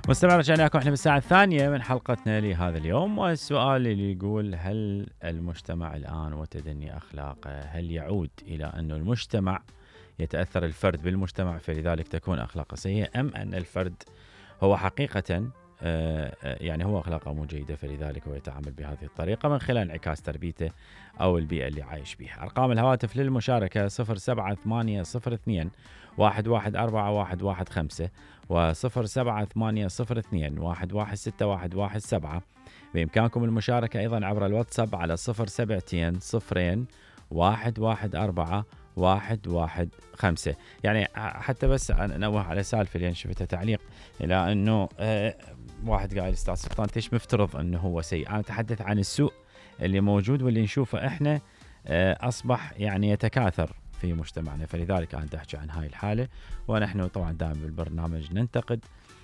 مستمع، رجعنا لكم احنا بالساعة الثانية من حلقتنا لهذا اليوم، والسؤال اللي يقول: هل المجتمع الآن وتدني أخلاقه هل يعود إلى أن المجتمع يتأثر الفرد بالمجتمع فلذلك تكون أخلاقه سيئة، أم أن الفرد هو حقيقة يعني هو أخلاقه مو جيدة فلذلك هو يتعامل بهذه الطريقة من خلال انعكاس تربيته أو البيئة اللي عايش بها؟ أرقام الهواتف للمشاركة 07802 1141115 و07802 1161117. بإمكانكم المشاركة أيضا عبر الواتساب على 072 114 115. يعني حتى بس نوه على سالفة اللي شفتها تعليق إلى أنه واحد قال: أستاذ سلطان تيش مفترض أنه هو سيء؟ أنا أتحدث عن السوء اللي موجود واللي نشوفه إحنا أصبح يعني يتكاثر في مجتمعنا، فلذلك أنا أحكي عن هاي الحالة. ونحن طبعا دائما بالبرنامج ننتقد